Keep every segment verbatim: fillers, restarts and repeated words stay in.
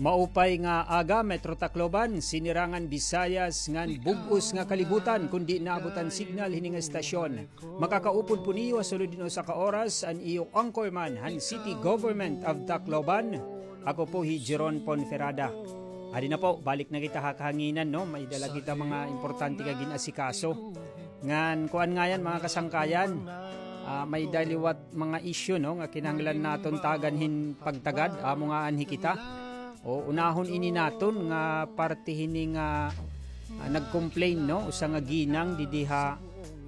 Maupay nga aga, Metro Tacloban, Sinirangan Visayas, ngan bug-os nga kalibutan, kundi naabot an signal hini nga estasyon. Makakaupod po niyo ha sulod hin usa ka oras an iyo anchorman han City Government of Tacloban. Ako po hi Jeron Ponferrada. Adi na po, balik na kita ha kahanginan, no? May dala kita mga importante nga gin-asikaso. Ngan kuan ngayan, mga kasangkayan, ah, may da liwat mga issue, no, nga kinahanglan naton tagan hin pagtagad, amo nga anhi kita. O, unahon ini naton nga parte hini nga, ah, nag-complain, no, usa nga ginang didi ha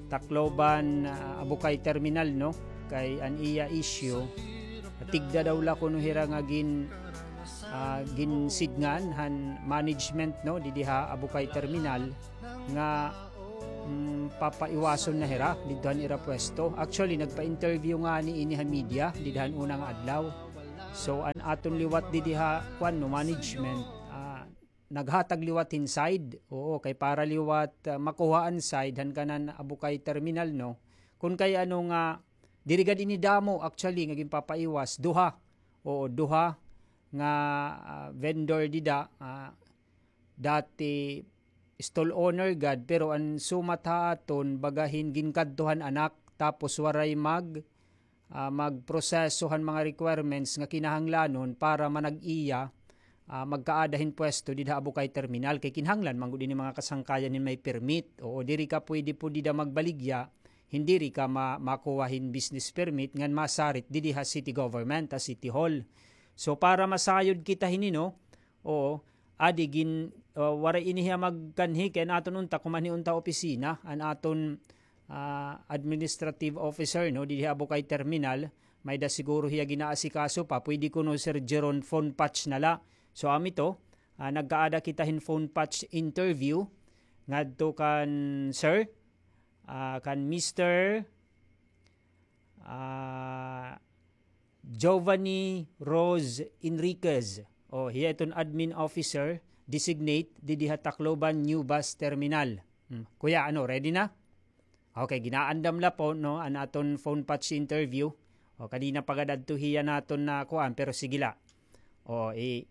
Tacloban, ah, Abukay Terminal, no, kay an iya issue, tigda daw la kuno hira nga gin-, ah, ginsidngan han management, no, didi ha Abukay Terminal nga mm, papaiwason na hira didto han ira pwesto. Actually, nagpa-interview ngani ini ha media dida han una nga adlaw. So, an aton liwat didi ha, kuan, no, management, ah, naghatag liwat hin side. Oo, kay para liwat, ah, makuha an side han kanan Abukay Terminal, no. Kun kay ano nga, diri gad ini damo, actually, nga ginpapaiwas, duha. Oo, duha nga, ah, vendor dida, ah, dati stall owner gad, pero an sumat ha aton, baga hin ginkadto han anak, tapos waray mag, ah, magproseso han mga requirements nga kinahanglanon para manag-iya, ah, magkaada hin pwesto dida ha Abukay Terminal. Kay kinahanglan man gud ini mga kasangkayan hin may permit. Oo, diri ka pwede po dida magbaligya, hin diri ka ma-, makuha hin business permit, ngan masarit didi ha city government, ha city hall. So, para masayod kita hini, no? Oo, adi gin-, ah, waray ini hiya magkanhi kay an aton unta, kumanhi unta opisina, an aton, ah, administrative officer, no, didi ha Abukay Terminal, may da siguro hiya ginaasikaso pa, pwede kuno Sir Jeron phone patch na la. So, amo ito, ah, nagkaada kita hin phone patch interview ngadto kan Sir, ah, kan Mister Ah, Giovanni Rose Enriquez. O, hiya iton admin officer designate didi ha Tacloban New Bus Terminal. Hmm. Kuya, ano, ready na? Okay, ginaandam la po, no, an aton phone patch interview. O, kanina pa gad adto hiya naton na kuan, pero sige la. O, i-,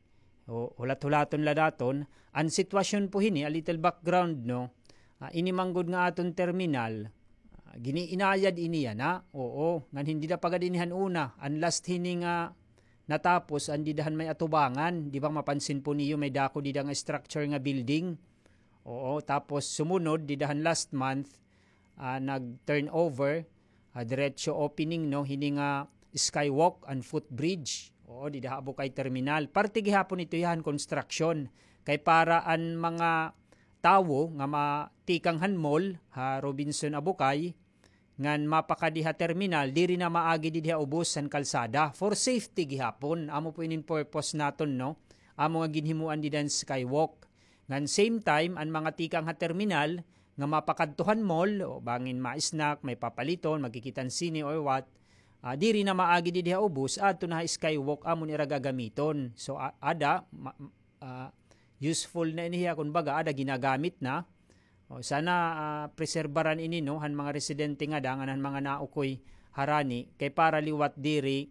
o, hulat-hulaton la naton. An sitwasyon po hini, a little background, no? Ah, ini man gud nga aton terminal, ah, giniinayad ini yana. Oo, ngan hin dida pa gad ini han una. An last hini nga natapos, an dida han may atubangan. Di ba mapansin po niyo, may dako dida nga structure nga building. Oo, tapos sumunod, dida han last month, ah, nag-turnover, ah, diretso opening, no, hini nga skywalk and footbridge. Oo, dida ha Abukay Terminal. Parte gihapon ito hiya han construction. Kay para an mga tawo nga ma-, tikang han mall, ha Robinson Abukay, ngan mapakadi ha terminal, diri na maagi didi ha ubos han kalsada. For safety gihapon, amo po inin purpose naton, no? Amo nga ginhimuan dida hin skywalk. Ngan same time, an mga tikang ha terminal nga mapakadto han mall, o bangin ma-snack, may papaliton, magkikita hin sine or what, ah, diri na maagi didi ha ubos, adto na ha skywalk, amo an ira gagamiton. So, a-, ada, ma-, ah, useful na ini hiya, kun baga, ada ginagamit na. O, sana, ah, preserbaran ini, no, han mga residente ngada, ngan han mga naukoy harani, kay para liwat diri,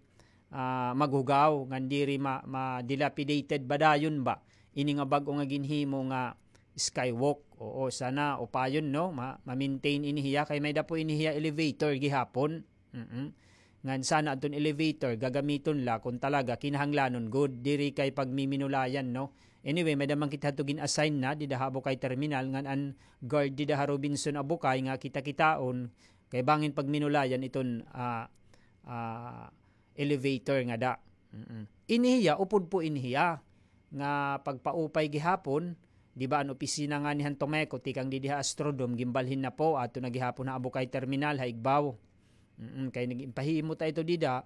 ah, maghugaw, ngan diri ma-, ma-dilapidated ba dayon ba ini nga bag-o nga ginhimo nga skywalk. Oo, sana upayon, no, ma-, ma-maintain ini hiya, kay may da po ini hiya elevator gihapon. Mm. Ngan sana adton elevator, gagamiton la kun talaga kinahanglanon gud, diri kay pagmiminulayan, no? Anyway, may da man kita hadto gin-assign na, dida ha Abukay Terminal, ngan an guard dida ha Robinson Abukay nga kita-kitaon, kay bangin pagminulayan iton, ah, ah, elevator ngada. Mm. Ini hiya, upod po ini hiya nga pagpaupay gihapon, di ba, an opisina ngani han Tomeco, tikang didi ha Astrodome, ginbalhin na po, adto na gihapon ha Abukay Terminal, ha igbaw. Mm, kay nag-, impahimo ta ito dida,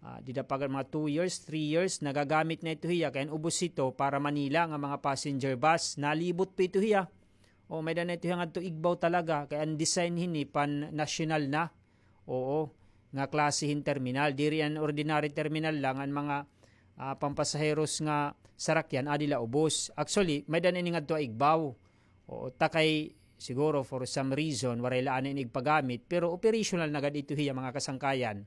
ah, dida pa gad mga two years, three years, nagagamit na ito hiya, kay an ubos ito para Manila nga mga passenger bus, nalibot pa ito hiya. O, may da na ito hiya ngadto igbaw talaga, kay an design hini pan-national na. Oo, nga klase hin terminal. Diri an ordinary terminal lang, an mga, ah, pampasaheros nga sarakyan, adi la ubos. Actually, may da na ini ngadto ha igbaw. Oo, ta kay siguro for some reason, waray la anay ini igpagamit, pero operational na gad ito hiya mga kasangkayan.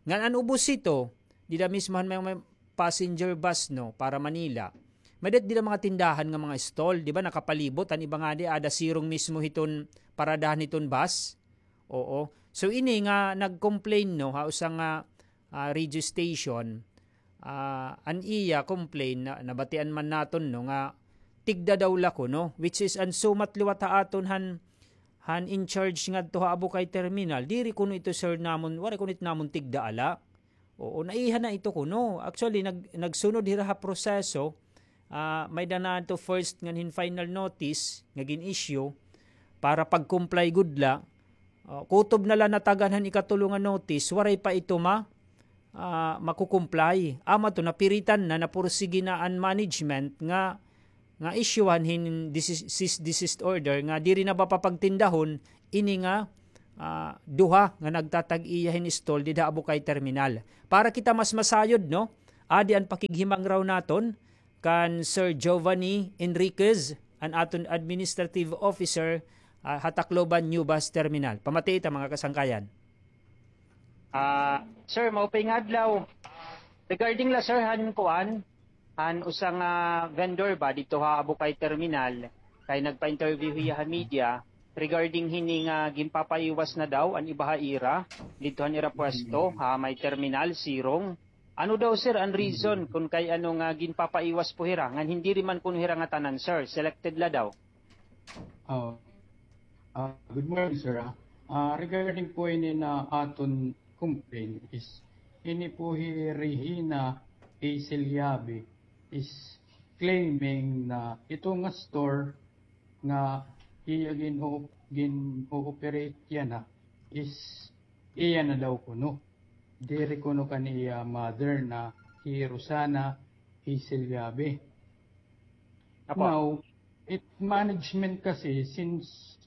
Ngan an ubos ito, dida mismo han may, may passenger bus, no, para Manila. May-ada dida mga tindahan nga mga stall, di ba, nakapalibot, an iba ngadi, ada sirong mismo hiton paradahan hiton bus. Oo. So, ini nga nag-complain, no, ha, usa nga, ah, radio station, ah, an iya complain, na, nabatian man naton, no, nga tigda daw la kuno, which is an sumat liwat ha aton han, han in charge ngadto ha Abukay Terminal. Diri kuno ito, sir, namon, waray kuno ito namon tigda ala. Oo, naiha na ito kuno. Actually, nag-, nagsunod hira ha proseso, ah, may-ada na ito first ngan hin final notice nga gin-issue para pag-comply gud la. Ah, kutob na la natagan han ikatulo nga notice, waray pa ito ma-, ah, makukumply. Amo ito, napiritan na, napursigi na an management nga nga isyuhan hin desis-, cease desist order nga diri na mapapagtindahon ini nga, ah, duha nga nagtatag-iya hin stall dida ha Abukay Terminal. Para kita mas masayod, no? Adi an pakighimangraw naton kan Sir Giovanni Enriquez, an aton administrative officer, ah, ha Tacloban New Bus Terminal. Pamati ita, mga kasangkayan. Ah, sir, maupay nga adlaw. Regarding la, sir, han kuan, han usa nga vendor ba didto ha Abukay Terminal, kay nagpa-interview hiya ha media regarding hini nga ginpapaiwas na daw an iba ha ira didto han ira pwesto ha may terminal, sirong. Ano daw, sir, an reason kun kay ano nga ginpapaiwas po hira, ngan hin diri man kuno hira ngatanan, sir, selected la daw? Oh. Ah, good morning, sir, ah. Ah, regarding po ini na aton complaint is, ini po hi Regina A. Silyabi is claiming na ito nga store nga iya gin-o-, gin-o-operate yana is iya na daw kuno. Diri kuno kan iya mother na hi Rosana A. Silyabi. Apo. Now, it management kasi since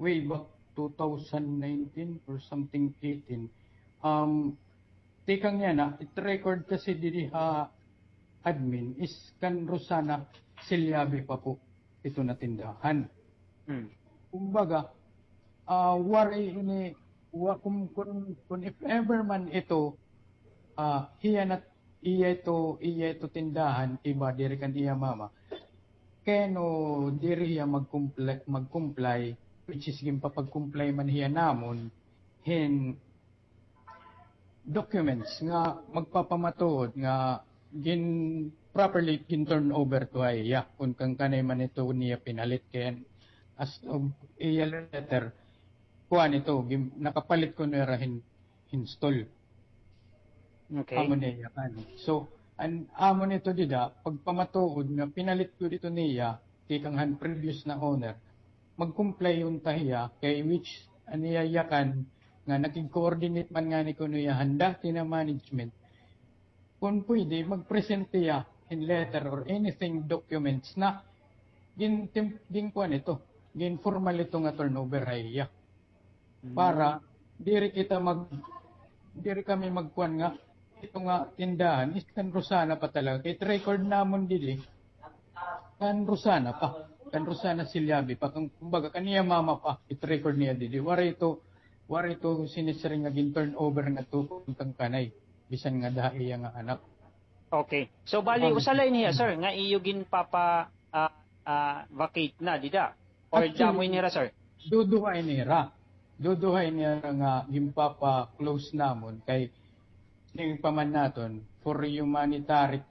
way back two thousand nineteen or something eighteen, um, tikang yana, it record kasi didi ha admin is kan Rosana Silyabi pa po ito na tindahan. Hmm. Kumbaga, ah, waray ini, wa-, kun, kun, kun if ever man ito, ah, hiya na, iya ito, iya ito tindahan, iba diri kan iya mama. Kay no diri hiya mag-comply, mag-comply, which is ginpapag-comply man hiya namon hin documents nga magpapamatuod nga gin-, properly gin-turnover to ha iya, kun kan kanay man ito niya pinalit, kay as of iya letter, kuan ito, gin-, nakapalit kuno hira hin, hin stall. Okay. Amo niya kan. So, an, amo nito dida, pagpamatuod nga pinalit gud ito niya tikang han previous na owner, mag-comply unta hiya, kay which an iya yakan nga nakig-coordinate man ngani kuno hiya han dati na management. Kun pwede, mag-present hiya hin letter or anything, documents na gin-, tim-, gin-kuan ito, gin-formal ito nga turnover ha iya. Hmm. Para diri kita mag-, diri kami magkuan nga ito nga tindahan is kan Rosana pa talaga. Kay it record namon didi, kan Rosana pa. Kan Rosana Silyabi pa. Kan, kumbaga, kan iya mama pa, it record niya didi. Waray ito, waray ito sinisiring nga gin-turnover ngadto kan kanay. Bisan ngada ha iya nga anak. Okay. So, bali, usa la ini hiya, sir, nga iyo ginpapa-, ah, ah, vacate na, dida? Or damo ini hira, sir? Duduha ini hira. Duduha ini hira nga ginpapa-close namon kay siring pa man naton for humanitary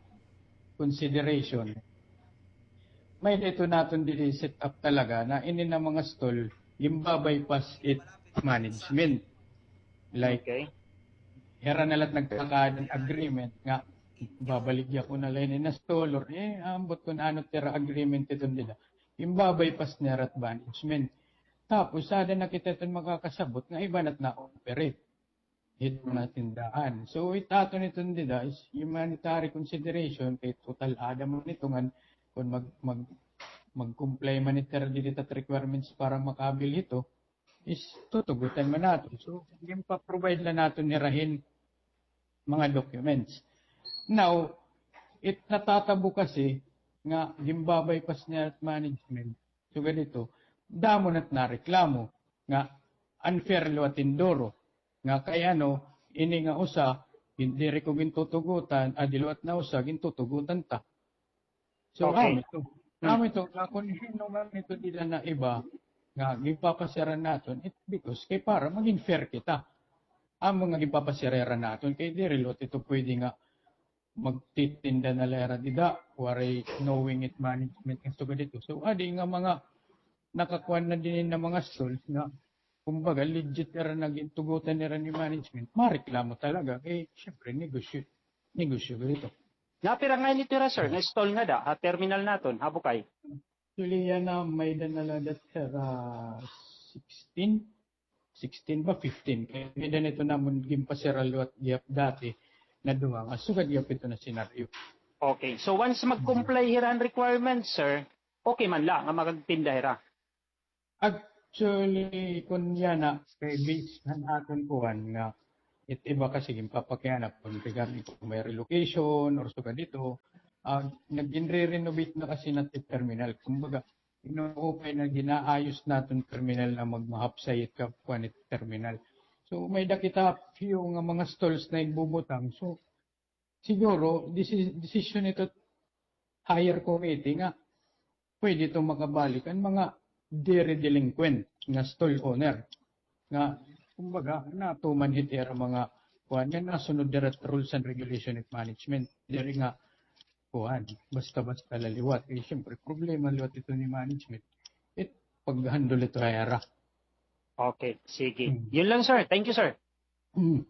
consideration. May-ada ito naton didi set up talaga na ini na mga stall, ginba-bypass it management. Like, okay, hira na la it nagkakaada hin agreement nga babaligya ko na la ini na stall or, eh, ambot kun ano it ira agreement iton dida. Ginba-bypass nira it management. Tapos, ada na kita iton makakasabot nga iba na it na-operate hit mga tindahan. So, it aton iton dida is humanitary consideration, kay total ada man ito ngan kun mag-, mag-, mag-comply man ito dida hit requirements para makabil hito, is tutugutan man naton. So, ginpa-provide la naton hira hin mga documents. Now, it natatabo kasi nga ginba-bypass nira it management. Sugad hito, damo na it nareklamo nga unfair liwat hin duro. Nga kay ano, ini nga usa, gin-, diri ko gintutugutan, adi liwat na usa, gintutugutan ta. So, okay. Amo ito. Hmm. Amo ito, nga kon hin-o man ito dida na iba, nga ginpapasyaran naton, it, because kay para maging fair kita. Amo nga ginpapasyaran naton, kay diri liwat ito pwede nga magtitinda na la hira dida, waray knowing it management nga sugad ito. So, adi nga mga nakakuan na dinhi nga mga stalls nga, kumbaga, legit hira nga gintugutan nira ni management, mareklamo talaga. Kay, syempre, negosyo, negosyo gud ito. Napira ngay-an ito hira, sir, nga stall ngada ha terminal naton ha Bukay? Actually, yana, may-ada na la hira, ah, sixteen? Sixteen ba? Fifteen. Kay may-ada na ito namon ginpasara liwat gihap dati na duha nga sugad gihap ito na senaryo. Okay. So, once mag-comply hira han requirements, sir, okay man la nga makagtinda hira? Actually, kon yana, kay based han aton kuan nga, it iba kasi ginpapakiana kon regarding kon may relocation or sugad ito, ah, nagin-re-renovate na kasi naton it terminal. Kumbaga, inuupay na, ginaayos naton terminal na magmahapsay it ka-, kuan it terminal. So, may-ada kita few nga mga stalls na igbubutang. So, siguro, desi-, desisyon ito higher committee nga pwede ito makabalik an mga diri delinquent nga stall owner. Nga, kumbaga, natuman hit ira mga kuan nga nasunod dira rules and regulation of management. Diri nga, kuan, basta-basta la liwat. Eh, siyempre, problema liwat ito ni management. It, pag-handle ito ha ira. Okay, sige. Hmm. Yun lang, sir. Thank you, sir. Hmm.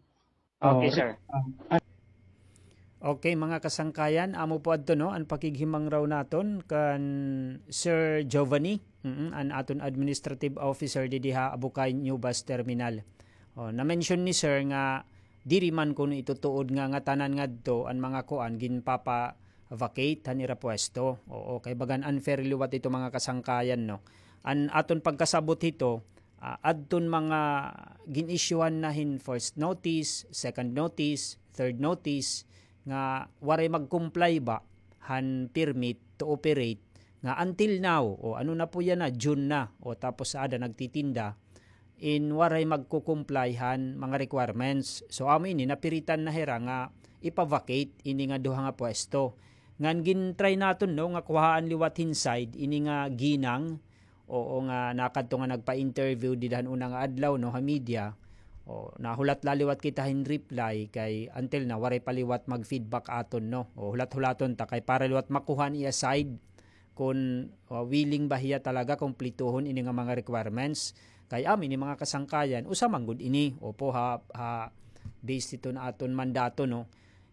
Okay, oh, sir. Rick, um, Okay, mga kasangkayan, amo po adto, no, an pakighimangaraw naton kan Sir Giovanni, mm, an aton administrative officer didi ha Abukay New Bus Terminal. O, na-mention ni Sir nga diri man kuno ito tuod nga ngatanan ngadto an mga kuan ginpapa-vacate han ira pwesto. Oo, kay bagan unfair liwat ito, mga kasangkayan, no. An aton pagkasabot hito, ah, adton mga gin-isyuhan na hin first notice, second notice, third notice, nga waray mag-comply ba han permit to operate, nga until now, o ano na po yana, June na, o tapos aada nagtitinda, in waray magko-comply han mga requirements. So, amo ini, napiritan na hira nga ipa-vacate ini nga duha nga pwesto. Ngan gin-try naton, no, nga kuhaan liwat hin side ini nga ginang, oo, nga nakadto nga nagpa-interview dida han una nga adlaw, no, ha media. O, nahulat la liwat kita hin reply kay until now, waray pa liwat mag-feedback aton, no. O, hulat-hulaton ta kay para liwat makuha an iya side kon, o, willing ba hiya talaga kumplituhon ini nga mga requirements. Kay amo ini, mga kasangkayan, usa man gud ini, opo, ha, ha, based hiton aton mandato, no,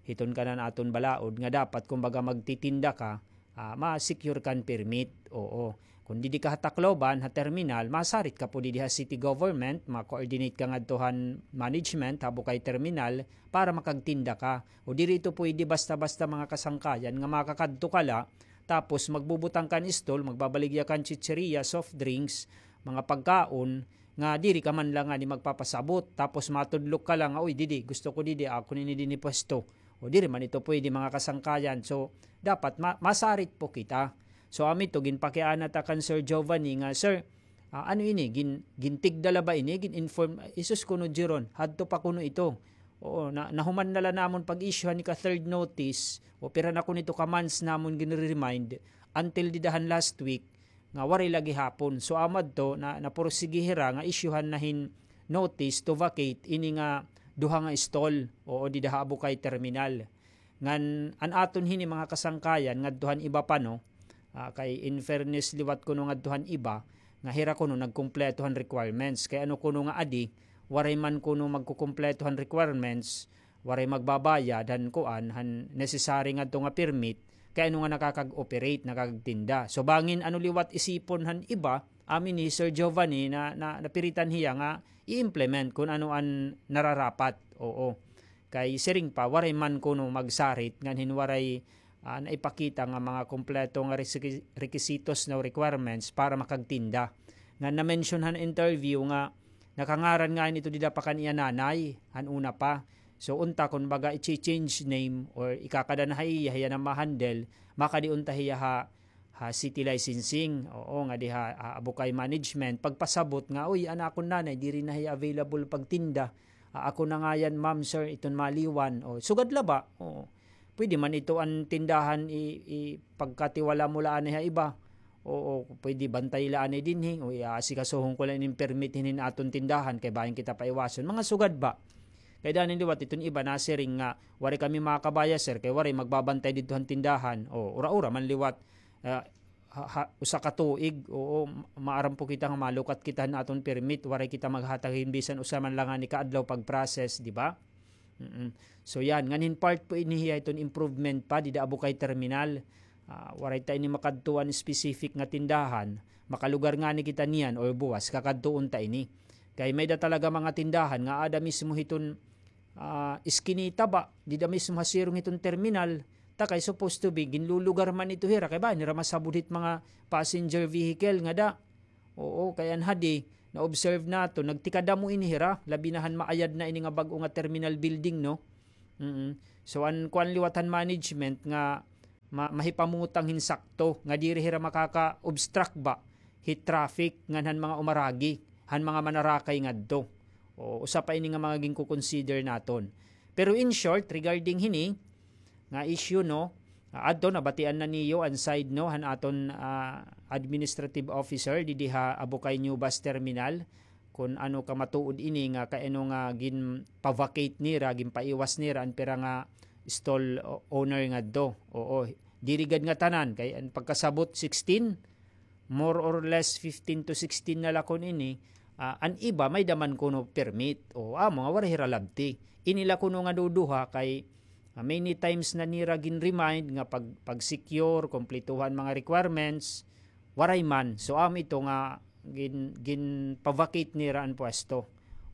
hiton kanan aton balaod nga dapat, kumbaga, magtitinda ka, ah, ma-secure kan permit. Oo. Kon didi ka ha Tacloban, ha terminal, masarit ka po didi ha city government, ma-coordinate ka ngadto han management ha Bukay Terminal para makagtinda ka. O diri ito pwede basta-basta, mga kasangkayan, nga makakadto ka la, tapos magbubutang kan stall, magbabaligya kan chicheria, soft drinks, mga pagkaon, nga diri ka man la ngani magpapasabot, tapos matudlok ka la nga, "Uy, didi, gusto ko didi, akon ini dinhi pwesto." O diri man ito pwede, mga kasangkayan. So, dapat ma-, masarit po kita. So, amo ito, ginpakiana ta kan Sir Giovanni nga, "Sir, ah, ano ini? Gin-, gintigda la ba ini? Gin-inform?" Isus kuno, Jeron, hadto pa kuno ito. Oo, na, nahuman na la namon pag-issue han ika-third notice. O pira na kuno ito ka months namon ginre-remind until dida han last week nga waray la gihapon. So, amo adto, na, napursige hira nga isyuhan na hin notice to vacate ini nga duha nga stall, oo, dida ha Abukay Terminal. Ngan an aton hini, mga kasangkayan, ngadto han iba pa, no? Ah, kay in fairness liwat kuno ngadto han iba, nga hira kuno nagkumpleto han requirements. Kay ano kuno nga adi, waray man kuno magkukumpleto han requirements, waray magbabayad han kuan, han necessary ngadto nga permit, kay ano nga nakakag-operate, nakakagtinda. So, bangin ano liwat isipon han iba, amo ini Sir Giovanni na, na, napiritan hiya nga i-implement kun ano an nararapat. Oo. Kay siring pa, waray man kuno magsarit ngan hin waray, ah, naipakita nga mga kompleto nga resi-, rekisitos, no, requirements para makagtinda. Nga na-mention han interview nga nakangaran ngay-an ito dida pa kan iya nanay, han una pa. So, unta, kun baga, i-change name or ikakada na ha iya, hiya na ma-handle, makadi unta hiya ha, ha city licensing, oo, nga diha, ha Abukay Management, pagpasabot nga, "Uy, an akon nanay, diri na hiya available pagtinda. Ah, ako na ngay-an, ma'am, sir, iton maliwan." O, sugad la ba? Oo. pwede man ito an tindahan i, i pagkatiwala mo la anay ha iba. Oo, pwede bantay la anay dinhi. O, i-, aasikasuhon ko la ini permit hinin aton tindahan kay bangin kita paiwason. Mga sugad ba? Kay danin liwat iton iba nasiring nga, "Waray kami makakabaya, sir, kay waray magbabantay didto han tindahan." O, ura-ura man liwat. Ah, ha, ha, usa ka tuig, oo, ma-, maaram po kita nga malukat kita han aton permit, waray kita maghatag hin bisan usa man la ngani ka adlaw pag-process, di ba? Mm-mm. So yan, nganhin part po ini hiya iton improvement pa dida Abukay Terminal. Ah, waray ta ini makadtuan specific nga tindahan, makalugar ngani kita niyan or buwas kakadtuon ta ini. Kay may-ada talaga mga tindahan nga aada mismo hiton ah, iskinita ba, dida mismo ha sirong hiton terminal, ta kay supposed to be, ginlulugar man ito hira, kay bangin hira masabod hit mga passenger vehicle ngada. Oo, kay an hadi, na-observe naton, nagtikadamo ini hira, labi na han maayad na ini nga bag-o nga terminal building, no? Mm. So, an kuan liwat han management nga ma-, mahipamutang hin sakto nga diri hira makaka-obstruct ba hit traffic ngan han mga umaragi, han mga manarakay ngadto. O, usa pa ini nga mga ginko-consider naton. Pero in short, regarding hini nga issue, no, ah, adto nabatian na niyo an side, no, han aton, ah, administrative officer didi ha Abukay New Bus Terminal, kun ano ka matuod ini nga kay ano nga ginpa-vacate nira, ginpaiwas nira an pira nga stall o-, owner ngadto. Oo, diri gad nga tanan, kay an pagkasabot sixteen, more or less fifteen to sixteen na la kun ini, ah, an iba may-ada man kuno permit. O, amo nga waray hira labti. Ini la kuno nga duduha kay, ah, many times na nira gin-remind nga pag, pag-secure, kumplituhan mga requirements, waray man. So, amo ito nga gin-, ginpa-vacate nira an pwesto.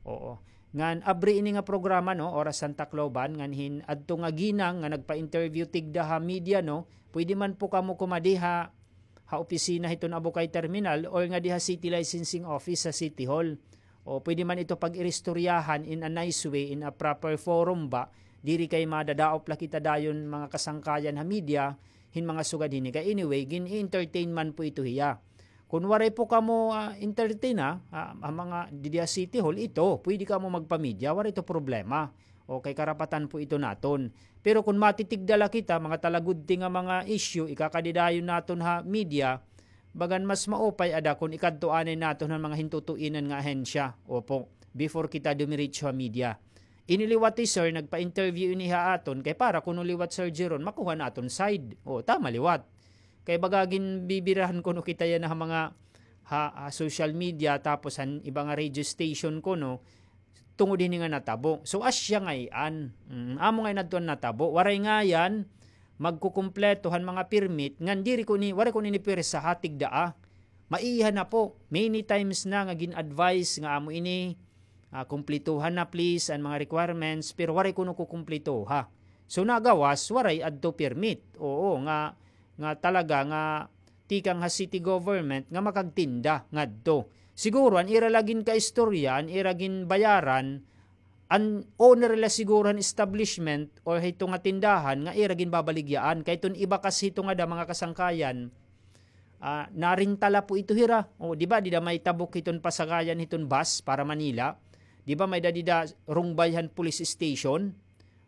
Oo. Ngan abri ini nga programa, no, Oras han Tacloban, ngan hin adto nga ginang nga nagpa-interview tigda ha media, no, pwede man po kamo kumadi ha, ha opisina hiton Abukay Terminal or ngadi ha City Licensing Office sa City Hall. O pwede man ito pag-iristoryahan in a nice way, in a proper forum ba, diri kay madadaop la kita dayon mga kasangkayan ha media, hin mga sugad hini. Kay anyway, gin-entertain man po ito hiya. Kun waray po kamo, ah, entertain, ah, ah, ang mga didi ha City Hall, ito, pwede kamo magpa-media, waray ito problema. Okay, karapatan po ito naton. Pero kun matitigda la kita, mga talagudti nga mga issue, ikakadi dayon naton ha media, bagan mas maupay ada kun ikadto anay naton han mga hintutuinan nga ahensya. Opo, before kita dumiretso ha media. Ini liwat hi sir, nagpa-interview ini ha aton, kay para kuno liwat Sir Jeron, makuha naton side. O, tama liwat. Kay baga ginbibirahan kuno kita yana ha mga ha, ha social media, tapos han iba nga radio station kuno, tungod hini nga natabo. So, asya ngay-an. Mm, amo ngay-an adto an natabo. Waray ngay-an magkukumpleto han mga permit, ngan diri ko ni, waray ko ni pwersa ha tigda, ah. Maiha na po. Many times na nga gin-advise nga amo ini, ah, kumplituhan na please an mga requirements, pero waray kuno kukumplituha. So, nagawas, waray adto permit. Oo, nga, nga talaga nga tikang ha city government nga makagtinda ngadto. Siguro, an ira la ginkaistorya, an ira ginbayaran, an owner la siguro han establishment or hito nga tindahan nga ira ginbabaligyaan. Kay iton iba kas hito ngada mga kasangkayan, ah, narenta la po ito hira. O, di ba, dida may tabok hiton pasagayan hiton bus para Manila. Di ba, may-ada dida rungbay han police station.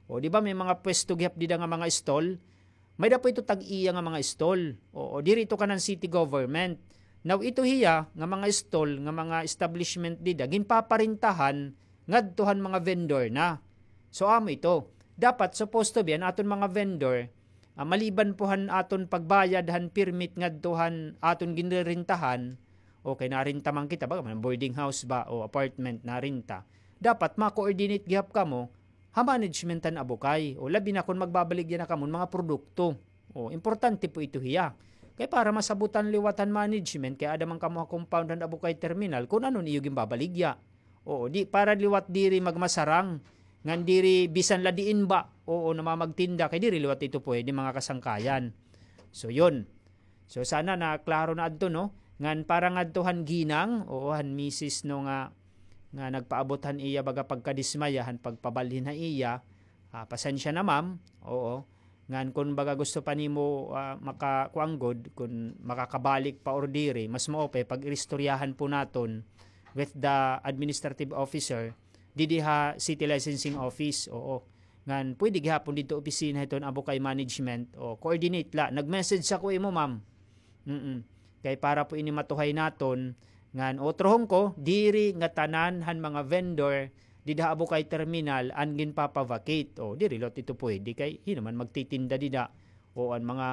O, di ba, may mga pwesto gihap dida nga mga stall. May-ada po ito tag-iya nga mga stall. Oo, diri ito kanan city government. Now, ito hiya nga mga stall, nga mga establishment dida, ginpaparintahan ngadto han mga vendor na. So, amo ito. Dapat, supposed to be, an aton mga vendor, ah, maliban po han aton pagbayad han permit ngadto han aton ginrerentahan, okay, narenta man kita, baga man boarding house ba o apartment, narenta. Dapat ma-coordinate gihap kamo ha management han Abukay. O labi na kon magbabaligya na kamo hin mga produkto. O, importante po ito hiya. Kay para masabutan liwat han management, kay aada man kamo ha compound han Abukay Terminal, kon ano an iyo ginbabaligya. Oo, di, para liwat diri magmasarang, ngan diri bisan la diin ba, oo, namamagtinda, kay diri liwat ito pwede, mga kasangkayan. So, yun. So, sana naklaro na adto, no? Ngan para ngadto han ginang, oo, han misis, no, nga, nga nagpaabot han iya baga pagkadismaya han pagpabalhin ha iya, ah, pasensya na, ma'am, oo. Ngan kun baga gusto pa nimo, ah, maka-, kuan gud, kun makakabalik pa or diri, mas maupay pag-iristoryahan po naton with the administrative officer, didi ha city licensing office, oo. ngan pwede gihapon didto opisina hiton Abukay Management, o coordinate la. Nag-message ako imo, ma'am. Mm. Kay para po ini matuhay naton, ngan otrohon ko, diri ngatanan han mga vendor dida ha Abukay Terminal an ginpapa-vacate. O, diri la ito pwede kay hin-o man magtitinda dida. O an mga,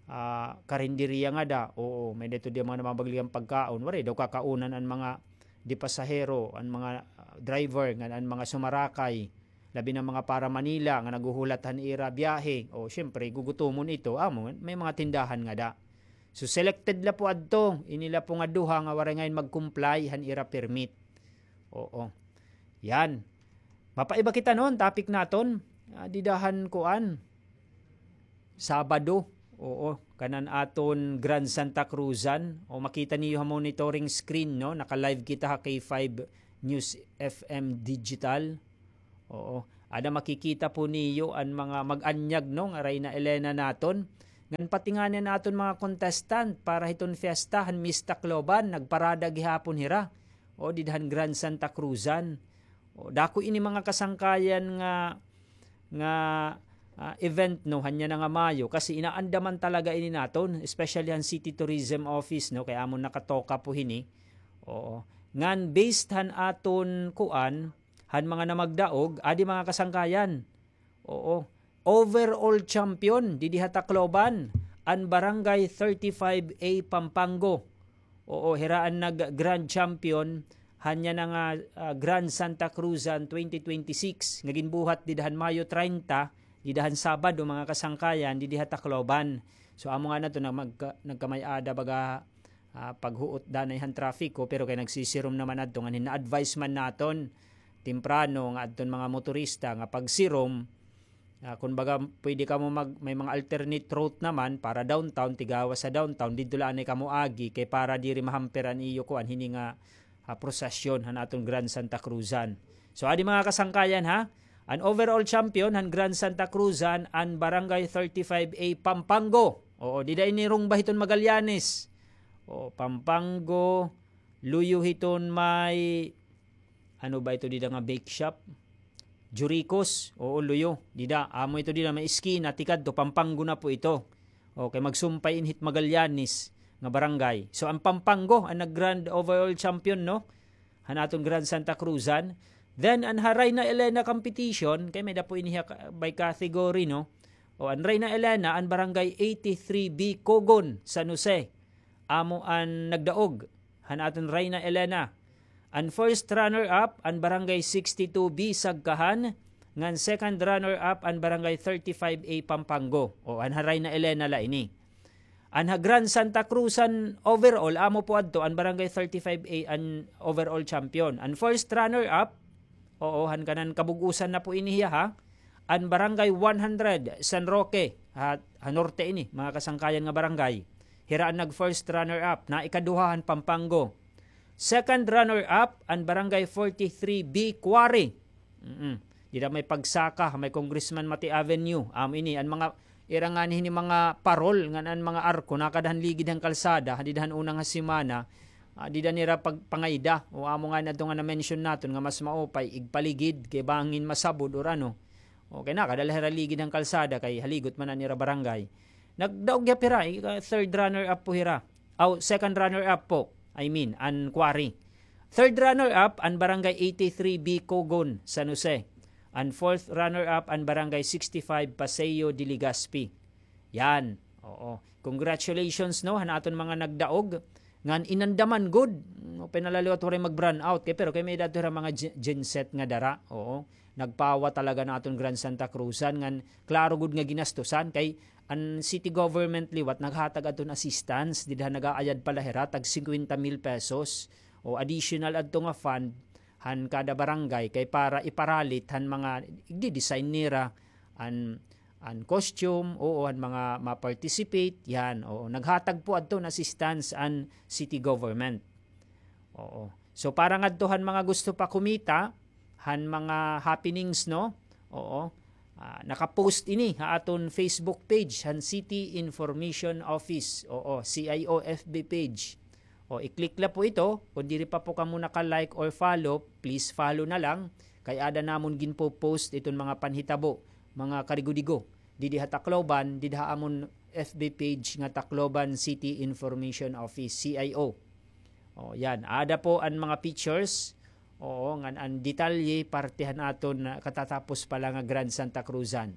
ah, karinderiya ngada. Oo, may-ada ito dida mga namamaligya hin pagkaon. Waray daw kakaunan an mga di pasahero, an mga, ah, driver, ngan an mga sumarakay. Labi na mga para Manila nga naghuhulat han ira biyahe. O, siyempre, gugutomon ito. Amo, may mga tindahan ngada. So, selected la po adto. Ini la po nga duha nga waray ngay-an mag-comply han ira permit. Oo. Yan. Mapaiba kita, no, an topic naton. Ah, dida han kuan. Sabado. Oo, kanan aton Grand Santa Cruzan. O, makita niyo ha monitoring screen, no? Naka-live kita ha K five News F M Digital. Oo. Ada makikita po niyo an mga mag-anyag, no, nga Reyna Elena naton. Ngan pati ngani an aton mga contestant para hiton fiesta han Miss Tacloban, nagparada gihapon hira. O, dida han Grand Santa Cruzan. O, dako ini mga kasangkayan nga, nga, ah, event, no, han yana nga Mayo, kasi inaandaman talaga ini naton, especially han City Tourism Office, no, kay amon nakatoka po hini. Oo. Ngan based han aton kuan, han mga namagdaog, adi mga kasangkayan. Oo. Overall champion didi ha Tacloban, an Barangay thirty-five A Pampango. Oo, hira an nag-grand champion han yana nga, ah, Grand Santa Cruzan twenty twenty-six nga ginbuhat dida han Mayo treinta, dida han Sabado, mga kasangkayan, didi ha Tacloban. So, amo ngani adto na magka-, nagkamay-ada baga, ah, paghuot danay han trapiko, pero kay nagsisirom naman adto, ngan hin-a-advise man naton temprano nga adton mga motorista nga pagsirom, ah, kun baga pwede kamo mag-, may mga alternate route naman para downtown, tigawas sa downtown, didto la anay kamo agi, kay para diri mahamper an iyo kuan, hini nga, ah, prosesyon han aton Grand Santa Cruzan. So, adi mga kasangkayan, ha, an overall champion han Grand Santa Cruzan, an Barangay thirty-five A Pampango. Oo, dida ini rungba hiton Magallanes. O, Pampango, luyo hiton may, ano ba ito dida nga bake shop? Juricos. Oo, luyo. Dida, amo ito dida may eskina, tikadto, Pampango na po ito. Okay, magsumpay ini hit Magallanes nga barangay. So, an Pampango an nag-grand overall champion, no? Han aton Grand Santa Cruzan. Then, an ha Reyna Elena competition, kay may-ada po ini ha ka-, by category, no? O, an Reyna Elena, an Barangay eighty-three B Cogon, San Jose. Amo an nagdaog han aton Reyna Elena. An first runner-up, an Barangay sixty-two B Sagkahan, ngan second runner-up, an Barangay thirty-five A Pampango. O, an ha Reyna Elena la ini. An ha Grand Santa Cruzan overall, amo po adto, an Barangay thirty-five A an overall champion. An first runner-up, oo, han kanan kabug-usan na po ini hiya, ha. An Barangay one hundred, San Roque, ha, ha norte ini, mga kasangkayan nga barangay. Hira an nag-first runner-up, na ikaduha han Pampango. Second runner-up, an Barangay forty-three B Quarry. Mm-mm. Dida may pagsaka, may Congressman Mati Avenue. Amo ini, an mga, ira ngani hini mga parol, ngan an mga arko, nakada han ligid han kalsada, dida han una nga semana, ah, dida nira pag-, pangayda, o amo ngani adto nga na-mention naton nga mas maupay, igpaligid, kay bangin masabod or ano. Okay, nakada la hira ligid han kalsada, kay haligot man an ira barangay. Nagdaog gihap hira, ika-, third runner-up po hira. Aw, second runner-up po. I mean, an Quarry. Third runner-up, an Barangay eighty-three B Cogon, San Jose. An fourth runner-up, an Barangay sixty-five Paseo de Legazpi. Yan. Oo. Congratulations, no, han aton mga nagdaog. Ngan inandaman gud. No, pinalaliwat waray mag-brownout. Kay, pero kay may-ada adto hira mga gen-, genset nga dara. Oo. Nagpawa talaga an aton Grand Santa Cruzan. Ngan klaro gud nga ginastusan. Kay an city government liwat naghatag adton assistance, dida nag-aayad pa la hira, tag singkwenta mil pesos o additional adto nga fund han kada barangay kay para iparalit han mga igdi-design nira, an, an costume, oo, han mga ma-participate, yan, oo. Naghatag po adton assistance an city government. Oo. So, para ngadto han mga gusto pa kumita han mga happenings, no? Oo. Ah, naka-post ini ha aton Facebook page han City Information Office. Oo, C I O F B page. O, i-click la po ito. Kung diri pa po kamo naka-like or follow, please follow na lang. Kay ada namon ginpo-post iton mga panhitabo mga karigo-digo didi ha Tacloban, didi ha amon F B page nga Tacloban City Information Office, C I O. O, yan. Ada po an mga pictures. Oo, ngan an detalye, parte han aton, ah, katatapos pa la nga Grand Santa Cruzan.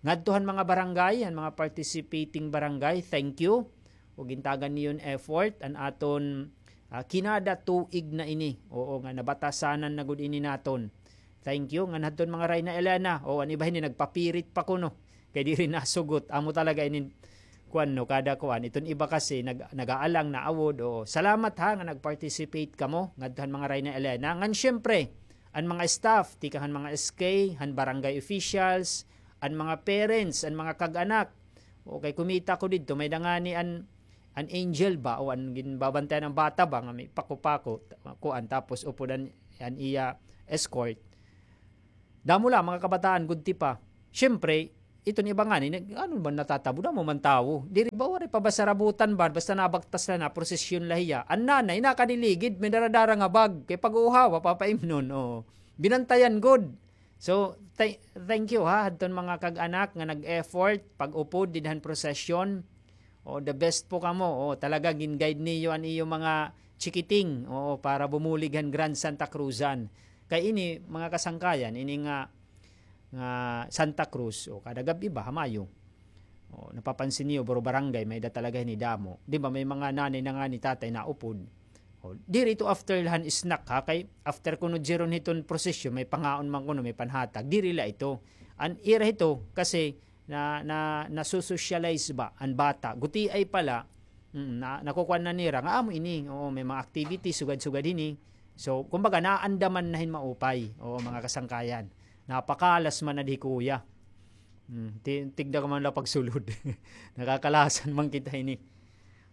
Ngadto han mga barangay, han mga participating barangay, thank you. O, gintagan niyo an effort, an aton, ah, kinada tuig na ini. Oo, nga nabatasanan na gud ini naton. Thank you. Ngan hadton mga Reyna Elena. O, an iba hini nagpapirit pa kuno. Kay diri nasugot. Amo talaga inin kuan, no, kada kuan. Iton iba kasi nag-, nag-aalang na awod. O, salamat ha nga nag-participate kamo ngadto han mga Reyna Elena. Ngan siyempre, an mga staff, tikang han mga S K, han barangay officials, an mga parents, an mga kag-anak. O, kay kumita ko didto, may-ada ngani an, an angel ba, o an ginbabantayan han bata ba, nga may pako-pako, kuan, tapos upod an, an iya escort. Damo la, mga kabataan, gudti pa. Siyempre, iton iba ngani, nag-, ano man natatabo, damo man tawo. Diri ba, waray pa ba sarabutan ba, basta nabaktas la na, prosesyon la hiya. An nanay, nakadiligid, may dara-dara nga bag. Kay pag-uuhawa, papaimnon, o. Binantayan gud. So, tha-, thank you ha, hadton mga kag-anak nga nag-effort, pag-upod, didi han prosesyon. O, the best po kamo. O, talaga, gin-guide niyo an iyo mga chikiting. Oo, para bumulig han Grand Santa Cruzan. Kay ini, mga kasangkayan, ini nga, nga Santa Cruz, o, kada gab-i ba, ha Mayo. O, napapansin niyo, buro barangay, may-ada talaga hini damo. Di ba, may mga nanay na ngani, tatay naupod. O, diri ito after la han snack, ha? Kay after kuno diri hiton prosesyon, may pangaon man kuno, may panhatag. Diri la ito. An ira hito, kasi na, na, naso-socialize ba an bata. Gutiay pa la, mm, na, nakukuan na nira nga amo ini. Oo, may mga activities, sugad-sugad hini. So, kumbaga, naandaman na hin maupay. Oo, mga kasangkayan. Napakalas man na di kuya. Hmm, ti-, tigda ka man la pagsulod. Nakakalasan man kita ini.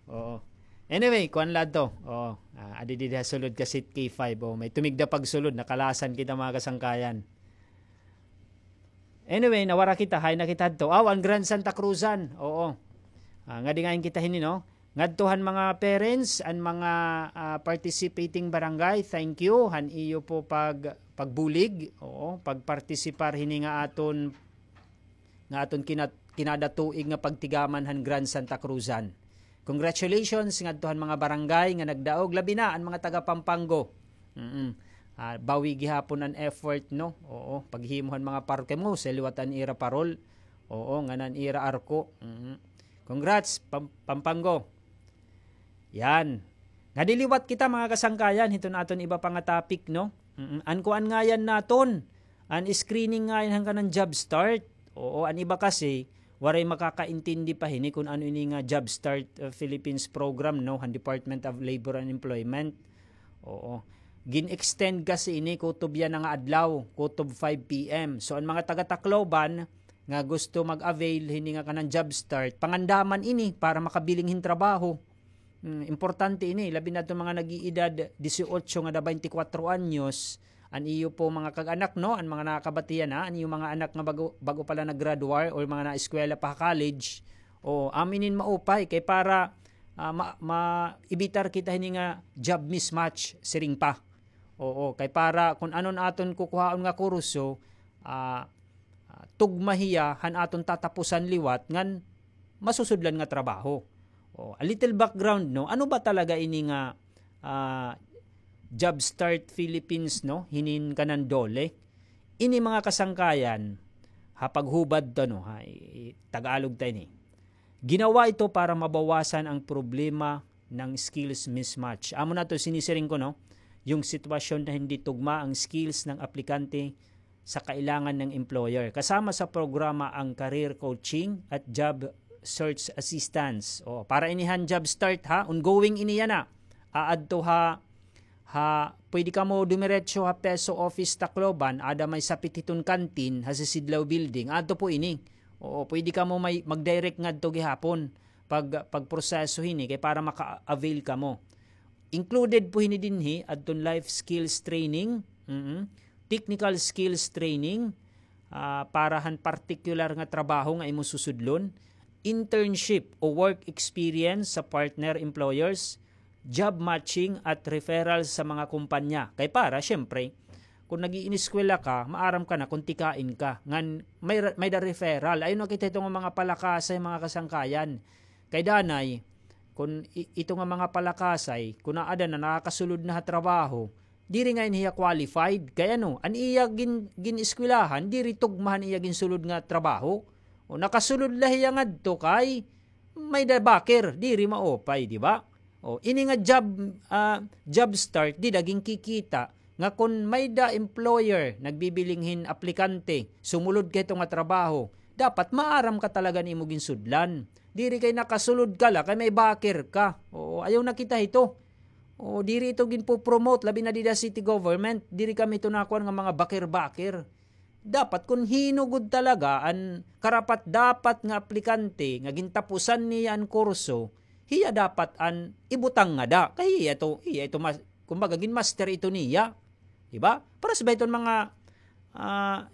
Oo. Anyway, kuan la to. Oo. Ah, adi didi ha sulod ka seat K five. Oh, may tumigda pagsulod, nakalasan kita, mga kasangkayan. Anyway, nawara kita, hain na kita hadto. Aw, an Grand Santa Cruzan. Oo. Ah, ngadi ngain kita hini, no? Ngadto han mga parents, an mga, ah, participating barangay, thank you han iyo po pag-, pagbulig, oo, pagpartisipar hini nga aton, nga aton kinat-, kinada tuig nga pagtigaman han Grand Santa Cruzan. Congratulations ngadto han mga barangay nga nagdaog, labi na an mga taga Pampango. Mm. Ah, bawi gihapon an effort, no? Oo, paghimo han mga parke mo, sa liwat an ira parol. Oo, ngan an ira arko. Mm. Congrats, Pam-, Pampango. Yan. Ngadi liwat kita, mga kasangkayan, hiton aton iba pa nga topic, no? Mm, an kuan ngayan naton, an screening ngayan han kanan job start. Oo, an iba kasi, waray makakaintindi pa hini kun ano ini nga Job Start, uh, Philippines program, no, han Department of Labor and Employment. Oo. Gin-extend kasi ini kutob yana nga adlaw, kutob five P M. So, an mga taga Tacloban, nga gusto mag-avail hini nga kanan job start, pangandaman ini para makabiling hin trabaho. Hmm, importante ini, labi na adton mga nag-iidad disiotso ngada baynte kwatro anyos, an iyo po mga kag-anak, no, an mga nakakabatian, ha, an iyo mga anak nga bago, bago pa la nag-graduar or mga naeskwela pa ha college, o, amo ini an maupay kay para, ah, ma-, ma-evitar kita hini nga job mismatch, siring pa. Oo, kay para kun ano an aton kukuhaon nga kurso, ah, ah, tugma hiya han aton tatapusan liwat ngan masusudlan nga trabaho. O, a little background, no? Ano ba talaga ini nga, ah, Job Start Philippines, no? Hinin kanan DOLE. Ini mga kasangkayan, ha paghubad to, no? Ha, i-, i-, Tagalog ta ini. Ginawa ito para mabawasan ang problema ng skills mismatch. Amo na to sinisiring ko, no? Yung sitwasyon na hindi tugma ang skills ng aplikante sa kailangan ng employer. Kasama sa programa ang career coaching at job search assistance. O, para inihan job start, ha, ongoing ini yana. Aadto ha, ha, pwede kamo dumiretso ha PESO office Tacloban, ada may sapit hiton kantin, ha Sisidlaw Building. Adto po ini. Oo, pwede kamo may mag-direct ngadto gihapon pag, pagproseso hini kay para maka-avail kamo. Included po hini dinhi, adton life skills training, mm, technical skills training, ah, para han partikular nga trabaho nga imo susudlon, internship o work experience sa partner employers, job matching at referral sa mga kumpanya. Kay para, siyempre, Kon nag-iineskwela ka, maaram ka na kon tikain ka. Ngan may ra-, may-ada referral. Ayaw na kita hito nga mga palakasay, mga kasangkayan. Kay danay, kon i-, ito nga mga palakasay, kon aada na, nakakasulod na ha trabaho, diri ngay-an hiya qualified. Kay ano, an iya gin-, gin-eskwelahan, diri tugma han iya ginsulod nga trabaho. O, nakasulod la hiya ngadto kay may-ada bakir, diri maupay, di ba? O, ini nga job, ah, job start, dida ginkikita nga kon may-ada employer nagbibiling hin aplikante, sumulod ka hito nga trabaho, dapat maaram ka talaga han imo ginsudlan. Diri kay nakasulod ka la kay may bakir ka. Oo, ayaw na kita hito. Oo, diri ito ginpo-promote, labi na dida city government. Diri kami ito nakuan nga mga bakir-bakir. Dapat kon hin-o gud talaga an karapat-dapat nga aplikante nga gintapusan niya an kurso, hiya dapat an ibutang ngada. Kay hiya ito, hiya ito mas-, kumbaga, ginmaster ito niya. Di ba? Paras ba iton mga, ah,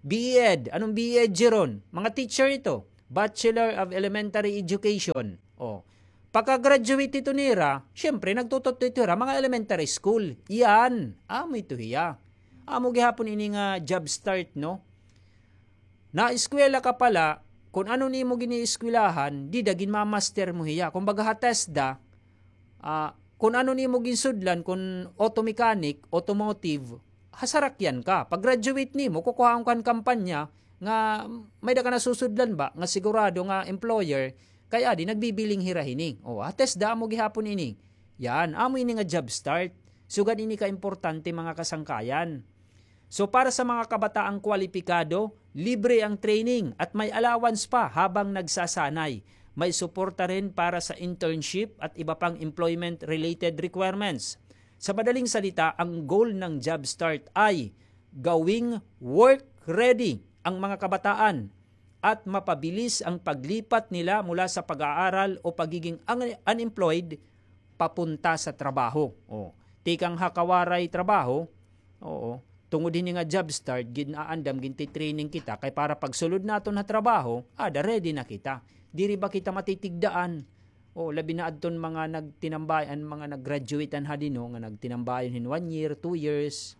B Ed? Anong B Ed ron? Mga teacher ito. Bachelor of Elementary Education. O, pagka-graduate ito nira, siyempre, nagtututdo ito hira mga elementary school. Iyan, amo ito hiya. Amo gihapon ini nga job start, no? Naeskwela ka pala, kon ano nimo ginieskwelahan, dida ginmamaster mo hiya. Kumbaga ha TESDA, ah, kon ano nimo ginsudlan, kon auto mechanic, automotive, ha sarakyan ka. Pag-graduate nimo, kukuhaon ka han kampanya nga may-ada ka nasusudlan ba, nga sigurado nga employer, kay adi, nagbibiling hira hini. O, ha TESDA amo gihapon ini. Yan, amo ini nga job start. Sugad ini ka importante, mga kasangkayan. So, para sa mga kabataang kwalipikado, libre ang training at may allowance pa habang nagsasanay. May suporta rin para sa internship at iba pang employment-related requirements. Sa madaling salita, ang goal ng JobStart ay gawing work-ready ang mga kabataan at mapabilis ang paglipat nila mula sa pag-aaral o pagiging ang-, unemployed papunta sa trabaho. O, tikang ha kawaray trabaho, oo, tungod hini nga job start, gin-aandam, ginti-training kita, kay para pagsulod naton ha trabaho, ada, ready na kita. Diri ba kita matitigdaan? O, labi na adton mga nagtinambay-, an mga nag-graduate-an ha dino, nga nagtinambayon hin one year, two years,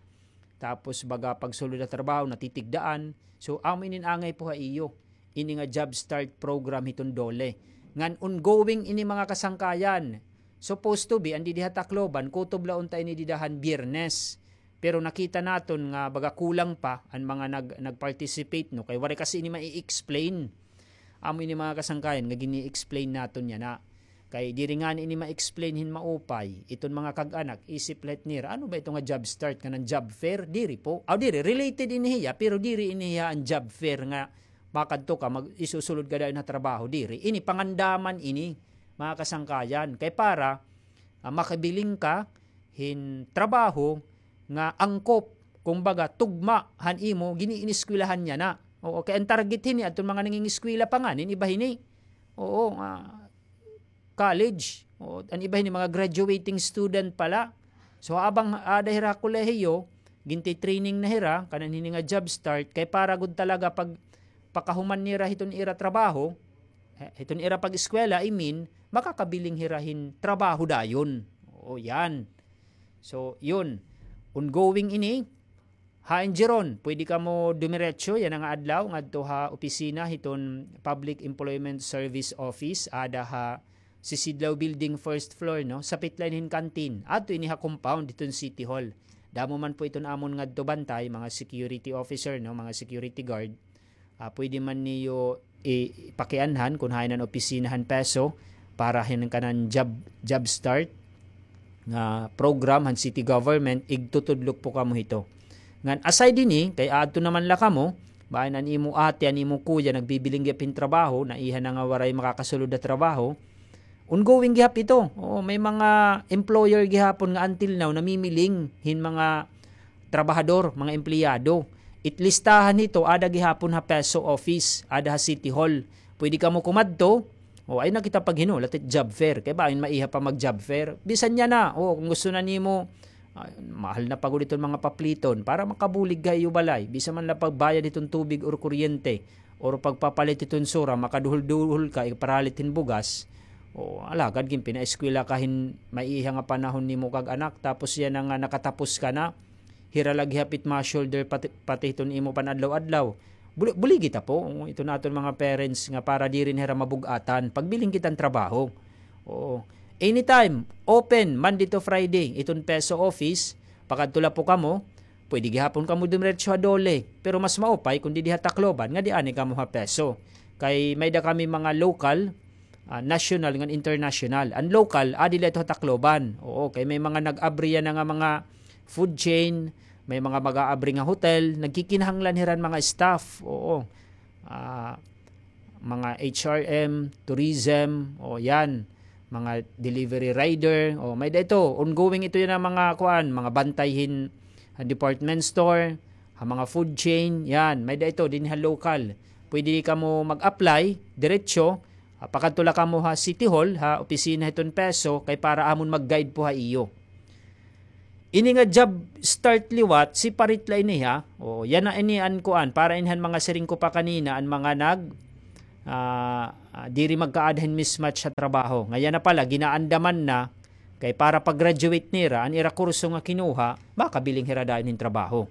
tapos baga pagsulod ha trabaho, natitigdaan. So, amo inin angay po ha iyo, ini nga job start program hiton DOLE. Ngan ongoing ini, mga kasangkayan. Supposed to be, an didi ha Tacloban, kutob la unta ini dida han Biyernes. Pero nakita naton nga baga kulang pa an mga nag-, nag-participate, no? Kay waray kasi ini mai-explain. Amo ini, mga kasangkayan, nga gini-explain naton yana. Kay diri ngani ini ma-explain hin maupay. Iton mga kag-anak, isip la hit nira, ano ba ito nga job start, kanan job fair? Diri po. Aw, diri, related ini hiya, pero diri ini hiya an job fair nga makadto ka, mag-, isusulod ka dayon ha trabaho. Diri, ini pangandaman ini, mga kasangkayan. Kay para, ah, makabiling ka hin trabaho nga angkop, kumbaga, tugma han imo giniineskwelahan yana. Oo, kay an target hini adton mga nangingeskwela pa ngani, an iba hini. Oo, nga college. Oo, an iba hini mga graduating student pa la. So, habang ada hira kolehiyo, ginti-training na hira, kanan hini nga job start, kay para gud talaga pag pakahuman nira hiton ira trabaho, eh, hiton ira pag-eskwela, I mean, makakabiling hira hin trabaho dayon. Oo, yan. So, yun. Ongoing ini. Hain diri ron, pwede kamo dumiretso yana nga adlaw ngadto ha opisina hiton Public Employment Service Office, ada ha Sisidlaw Building, first floor, no? Sapit la ini hin canteen. Adto ini ha compound hiton City Hall. Damo man po iton amon ngadto bantay, mga security officer, no? Mga security guard. Ah, pwede man niyo i-, ipakianhan kon hain an opisina han PESO para hin kanan job, job start nga program han city government, igtutudlok po kamo hito. Ngan aside hini, kay adto naman la kamo, bain an imo ate, an imo kuya, nagbibiling gihap hin trabaho, naiha na nga waray makakasulod ha trabaho, ongoing gihap ito. Oo, may mga employer gihapon nga until now namimiling hin mga trabahador, mga empleyado. It listahan hito, ada gihapon ha PESO office, ada ha City Hall. Pwede kamo kumadto, o, ayaw na kita paghinulat hit job fair. Kay bangin maiha pa mag-job fair. Bisan yana, o, kon gusto na nimo, ah, mahal na pa gud iton mga papliton para makabulig ka ha iyo balay. Bisan man la pagbayad hiton tubig or kuryente, or pagpapalit hiton sura, makaduhol-duhol ka, iparalit hin bugas. O, alagad ginpinaeskwela ka hin maiha nga panahon nimo kag-anak, tapos yana nga nakatapos ka na, Hira la gihap it ma-shoulder pati, pati hiton imo pan-adlaw-adlaw. Buli-, buligi ta po, oo, iton aton mga parents nga para diri na hira mabug-atan. Pagbiling kita hin trabaho. Oo. Anytime, open, Monday to Friday, iton PESO office, pakadto la po kamo, pwede gihapon kamo dumiretso ha DOLE, pero mas maupay kon didi ha Tacloban, nga di ani kamo ha PESO. Kay may-ada kami mga local, ah, national ngan international. An local, adi la ito ha Tacloban. Oo, kay may mga nag-abri yana nga mga food chain, may mga mag-aabri nga hotel, nagkikinahanglan hira hin mga staff. Oo. Ah, mga H R M, tourism, o yan, mga delivery rider, o may-ada ito, ongoing ito yana mga kuan, mga bantay hin, ha department store, ha mga food chain, yan, may-ada ito dinhi ha local. Pwede kamo mag-apply diretso, ah, pakadto la kamo ha City Hall, ha opisina hiton PESO, kay para amon mag-guide po ha iyo. Ini nga job start liwat, separate la ini, ha. O, yana ini an kuan, para ini han mga siring ko pa kanina, an mga nag, ah, ah, diri magkaada hin mismatch ha trabaho. Nga yana pala, ginaandaman na, kay para pag-graduate nira, an ira kurso nga kinuha, makabiling hira dayon hin trabaho.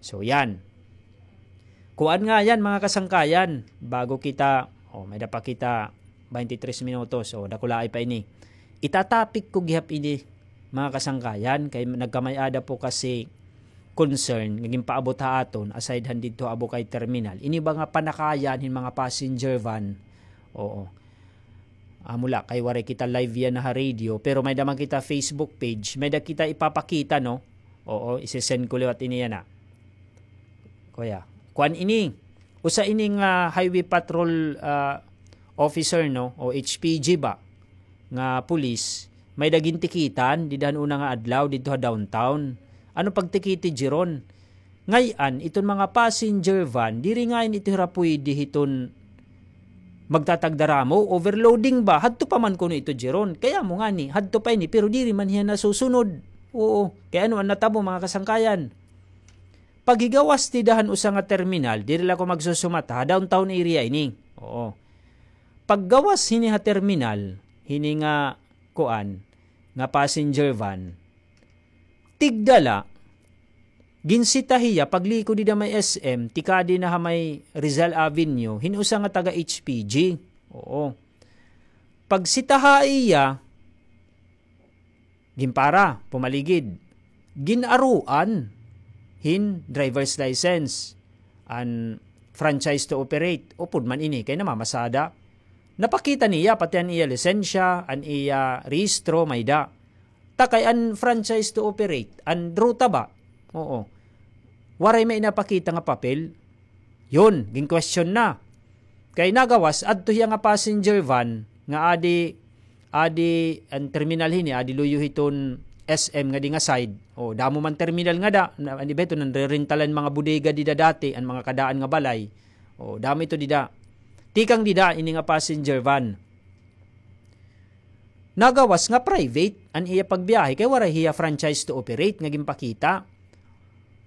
So, yan. Kuan nga yan, mga kasangkayan. Bago kita, o, may-ada pa kita twenty-three minutos, o, dakulaay pa ini. Itatopic ko gihap ini, mga kasangkayan, kay nagkamay-ada po kasi concern nga ginpaabot ha aton, aside han didto ha Abukay Terminal. Ini ba nga panakayan hin mga passenger van? Oo. Amo la, kay waray kita live yana ha radio, pero may-ada man kita Facebook page, may-ada kita ipapakita, no? Oo, isi-send ko liwat ini yana. Kuya, kuan ini. Usa ini nga highway patrol, ah, officer, no, o H P G ba, nga pulis, may-ada gintikitan dida han una nga adlaw didto ha downtown. Ano pagtikiti, Jeron? Ngay-an, iton mga passenger van, diri ngay-an ito hira pwede hiton magtatagdaramo, overloading ba? Hadto pa man kuno ito, Jeron. Kay amo ngani, hadto pa ini, pero diri man hiya nasusunod. Oo. Kay ano an natabo, mga kasangkayan? Paghigawas dida han usa nga terminal, diri la ko magsusumata, ha downtown area ini. Oo. Paggawas hini ha terminal, hini nga kuan, nga passenger van, tigda la, ginsita hiya, pagliko dida may S M, tikadi na ha may Rizal Avenue, hin usa nga taga H P G. Oo. Pagsita ha iya, ginpara, pumaligid. Gin-aruan hin driver's license, an franchise to operate. Upod man ini, kay namamasada. Napakita niya, pati an iya lisensya, an iya rehistro, may-ada. Ta kay an franchise to operate, an ruta ba? Oo. Waray may inapakita nga papel. Yun, gin-question na. Kay nagawas, adto hiya nga passenger van, nga adi, adi an terminal hini, adi luyo hiton S M ngadi nga side. O, damo man terminal ngada, na, an iba ito, nanrerentalan mga bodega dida dati, an mga kadaan nga balay. O, damo ito dida. Tikang dida, ini nga passenger van. Nagawas nga private an iya pagbiyahe kay waray hiya franchise to operate nga ginpakita.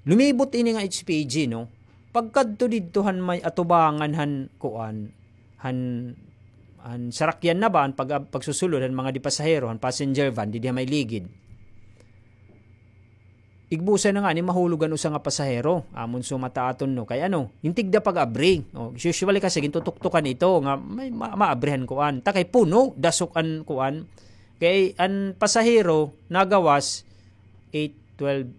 Lumibot ini nga H P G, no? Pagkadto didto han may atubangan han kuan, han, han sarakyan na ba, an pag-, pagsusulod han mga di pasahero, han passenger van, didi ha may ligid. Igbusa na ngani mahulog an usa nga pasahero. Amon sumata aton, no? Kay ano, hin tigda pag-abri. O, usually kasi gintutuktukan ito nga may ma-, maabrihan kuan. Ta kay puno, dasok an kuan. Kay an pasahero, nagawas, eight, twelve,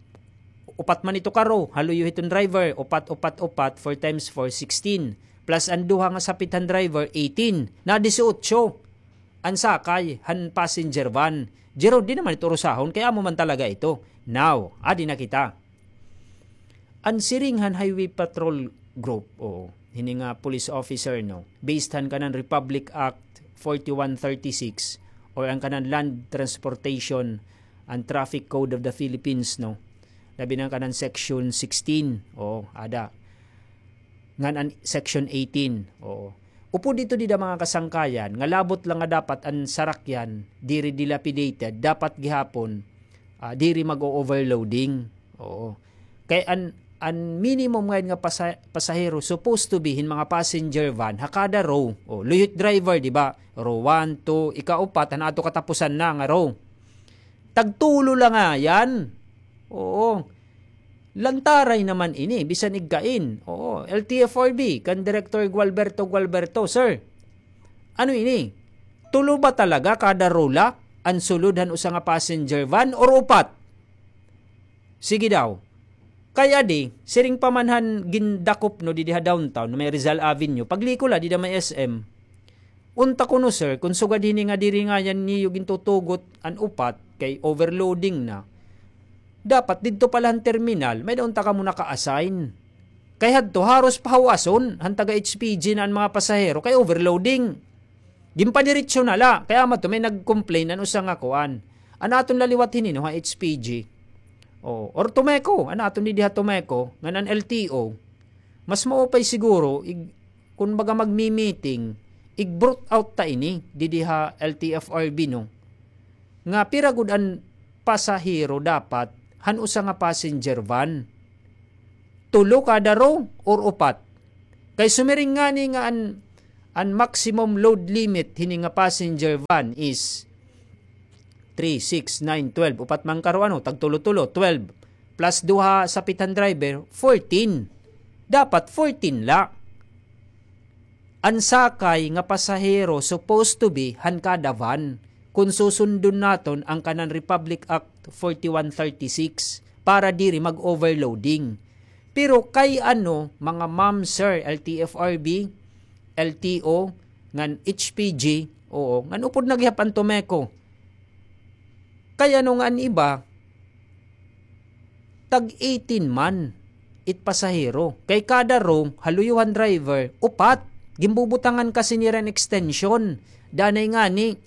upat man ito ka row, ha luyo hiton driver, upat, upat, upat, four times four, sixteen. Plus an duha nga sapit han driver, eighteen. Na disiotso an sakay han passenger van. Jerome, di naman ito urusahon, kay amo man talaga ito. Now, adi na kita. An siring han Highway Patrol Group, o hini nga police officer, no, based han kanan Republic Act forty-one thirty-six or an kanan Land Transportation and Traffic Code of the Philippines, no, labi na an kanan Section sixteen, o, ada. Ngan an Section eighteen. Oo. Upod ito dida, mga kasangkayan, nga labot la nga dapat an sarakyan diri dilapidated, dapat gihapon, ah, diri mag-o-overloading. Oo. Kay an, an minimum ngay-an nga pasa-, pasahero supposed to be hin mga passenger van ha kada row. O, luyo hit driver, di ba? Row one, two, ikaupat, han ato katapusan na nga row. Tagtulo la ngay-an. Oo. Lantaray naman ini, bisan igkain. Oo, L T F R B, kan Director Gualberto Gualberto, sir. Ano ini? Tulo ba talaga kada rula an sulod han usa nga passenger van or upat? Sige daw. Kay adi, siring pa man han gindakop, no, didi ha downtown, may Rizal Avenue. Pagliko la, dida may S M. Unta kuno, sir, kun sugad hini nga diri ngay-an niyo gintutugot an upat kay overloading na, dapat didto pa la han terminal, may-ada unta kamo naka-assign. Kay hadto, haros pahawason han taga H P G na an mga pasahero kay overloading. Ginpadiretso na la. Kay amo adto, may nag-complain an usa nga kuan. An aton la liwat hini, no, ha H P G. O, or Tomeco, an aton didi ha Tomeco, ngan an L T O. Mas maupay siguro, ig-, kun baga magmi-meeting, ig-brought out ta ini, didi ha L T F R B, no? Nga pira gud an pasahero dapat han usa nga passenger van? Tulo kada row or upat? Kay sumiring ngani nga an, an maximum load limit hini nga passenger van is three, six, nine, twelve. Upat man karo, ano, tagtulo-tulo, twelve. Plus duha sapit han driver, fourteen. Dapat fourteen la. An sakay nga pasahero supposed to be han kada van, kun susundon naton an kanan Republic Act forty-one thirty-six, para diri mag-overloading. Pero kay ano, mga ma'am, sir, L T F R B, L T O, ngan H P G, oo, ngan upod na gihap an Tomeco. Kay ano nga an iba, tag eighteen man it pasahero. Kay kada row, ha luyo han driver, upat. Ginbubutangan kasi nira hin extension. Danay ngani,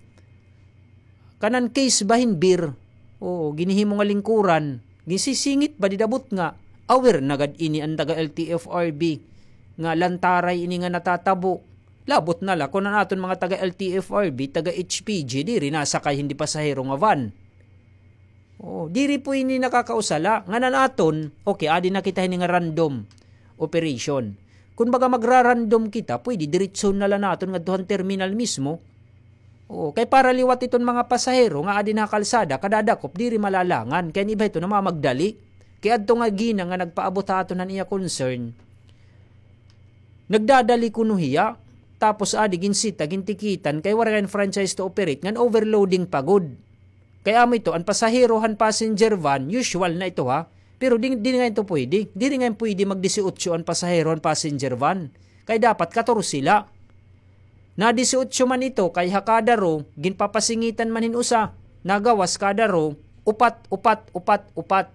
kanan case ba hin beer? Oo, ginhihimo nga lingkuran. Ginsisingit ba dida butnga? Aware na gad ini an taga L T F R B nga lantaray ini nga natatabo. Labot na la kun an aton mga taga L T F R B, taga H P G, diri nasakay hin didi pasahero nga van. Oo, diri po ini nakakausa la. Ngan an aton, okay, adi na kita hini nga random operation. Kun baga magra-random kita, pwede diretsohon na la naton ngadto han terminal mismo. Oo, kay para liwat iton mga pasahero nga adi na ha kalsada, kadadakop, diri malalangan. Kay an iba hito namamagdali. Kay adto nga gina nga nagpaabot ha aton han iya concern, nagdadali kuno hiya. Tapos adi ginsita, gintikitan, kay waray hin franchise to operate, ngan overloading pa gud. Kay amo ito, an pasahero han passenger van, usual na ito, ha. Pero di, di nga ito pwede. Diri nga pwede mag-disiotso an pasahero han passenger van. Kay dapat katorse la. Na-disiotso man ito, kay ha kada row, ginpapasingitan man hin usa. Nagawas kada row, upat, upat, upat, upat.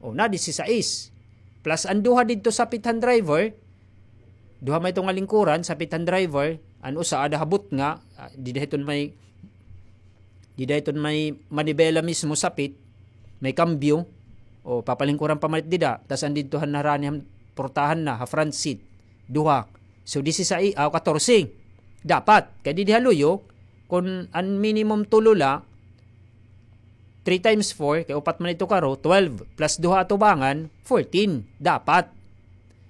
O, na-disisais. Plus an duha didto sapit han driver, duha man ito nga lingkuran, sapit han driver, an usa ada ha butnga, ah, dida hiton may, dida hiton may manibela mismo sapit, may kambyo, o papalingkuran pa man it dida, tas an didto han harani han portahan na, ha front seat, duha. So, disisais, ah, katorse. Dapat, kay didi ha luyo, kun an minimum tulo la, three times four, kay upat man ito karo, twelve, plus duha atubangan, fourteen. Dapat.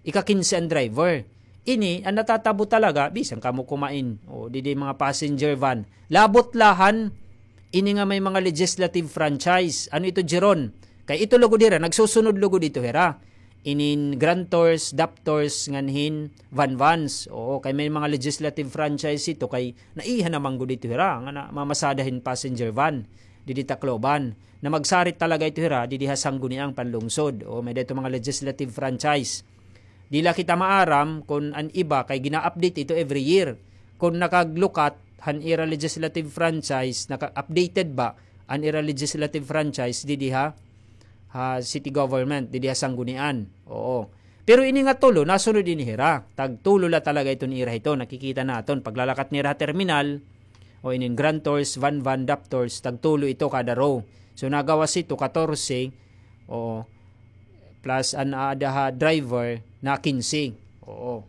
Ika-kinse an driver. Ini, an natatabo talaga, bisan kamo kumain. O, didi mga passenger van. Labot la han, ini nga may mga legislative franchise. Ano ito, Jeron? Kay ito lugod hira, nagsusunod lugod ito hira. Inin Grand Tours, Dap Tours, ngan hin Van Vans. Oo, kay may mga legislative franchise ito, kay naiha naman gud ito hira, nga na, mamasada hin passenger van, didi Tacloban. Na magsarit talaga ito hira, didi ha Sangguniang panlungsod. Oo, may dito mga legislative franchise. Di la kita maaram kun an iba, kay gina-update ito every year. Kun nakaglukat, han ira legislative franchise, naka-updated ba, an ira legislative franchise, didi ha, ha city government, didi ha Sanggunian. Oo. Pero ini nga tulo, nasunod ini hira. Tagtulo la talaga iton ira hito. Nakikita naton. Paglalakat nira ha terminal, o inin Grand Tours, Van Van, Dap Tours, tagtulo ito kada row. So, nagawas ito, katorse, oo, plus an aada ha driver na kinse. Oo.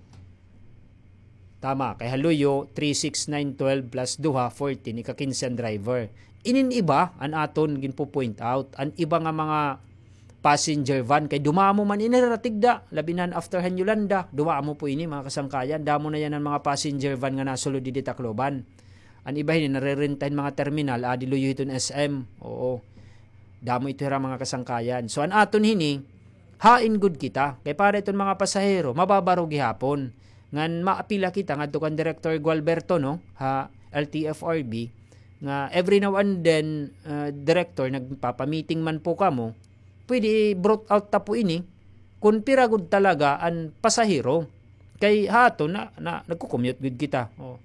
Tama, kay ha luyo, three, six, nine, twelve plus duha, fourteen, ika-kinse an driver. Inin iba, an aton ginpo-point out, an iba nga mga passenger van, kay dumamo man ini hira tigda, labi na han after han Yolanda, dumamo po ini, mga kasangkayan, damo na yana an mga passenger van nga nasulod didi Tacloban. An iba hini, narerenta hin mga terminal, adi luyo hiton S M, oo. Damo ito hira, mga kasangkayan. So, an aton hini, hain gud kita. Kay para iton mga pasahero, mababaro gihapon. Ngan maapila kita ngadto kan Director Gualberto, no, ha L T F R B, nga every now and then, ah, Director, nagpapamiting man po kamo, pwede i-brought out ta po ini, kun pira gud talaga an pasahero. Kay hato na, na, nagko-commute gud kita. O.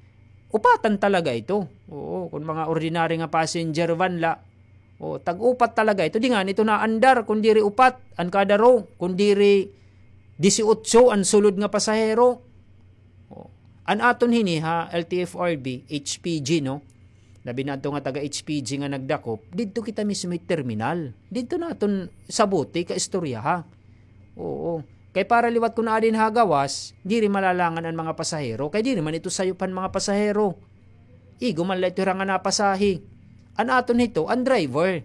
Upatan talaga ito. Oo, kun mga ordinary nga passenger van la, o, tag-upat talaga ito. Di ngani ito naandar, kun diri upat an kada row, kun diri disiotso an sulod nga pasahero. O, an aton hini ha, L T F R B, H P G, no? Labi na adto nga taga H P G nga nagdakop, didto kita mismo it terminal. Didto naton sabuti ka istorya, ha? Oo. Kay para liwat kun aadi ha gawas, diri malalangan an mga pasahero, kay diri man ito sayop han mga pasahero. Igo man la ito hira nga napasahe. An aton hito, an driver.